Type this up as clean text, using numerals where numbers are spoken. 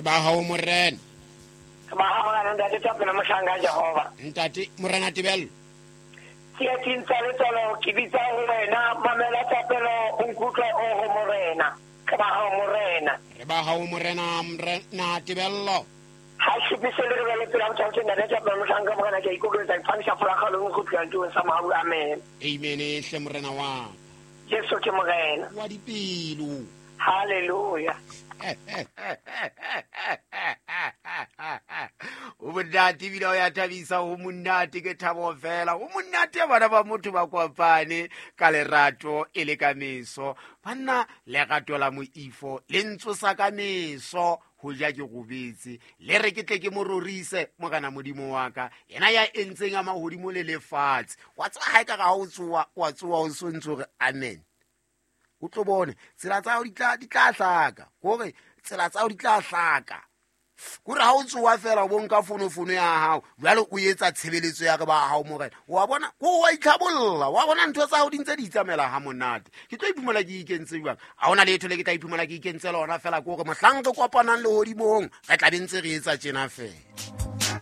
Ba hao morena. Re ba hao morena, ntate Thapelo mohlanka Jehova. Ntate morena Tebello. Tsietsing tsa letswalo ke bitsa ho wena, mamela thapelo o nkutlwe o ho morena. Re ba hao morena. Re ba hao morena, morena Tebello. Ha šupise le re bele pela botho ke ntate Thapelo mohlanka morena, ke a ikokobetsa, ke phamisa folakgalong go tloha tulong sa mohau. Amen. Amen hle morena wa ka. Jesu ke morena. Wa dipelo. Hallelujah. O monate ebile o ya thabisa, o monate ke thabo fela, o monate bana ba motho ba kopane ka lerato e le ka meso. Banna, lerato la moifo le ntsosa ka meso ho ja ke robetse, le re ke tle ke mo rorise morena modimo wa ka, yena ya entseng a mahodimo le lefatshe. Wa tseba ha e ka ga o tsoa, wa tsoa o sontse hore amen. O tlo bone tsela tsa hao di tla hlaka, kore tsela tsa hao di tla hlaka, kore ha o tsoa fela o bo nka fonofono ya hao jwale o etsa tshebeletso ya re ba hao morena. Wa bona ko wa itlhabolla, wa bona ntho tsa hao di ntse di itsamaela ha monate. Ke tlo iphumana ke ikentse jwang? Ha hona letho le ke tla iphumana ke ikentse lona fela, ke hore mohlang re kopanang lehodimong re tla be ntse re etsa tjena fela.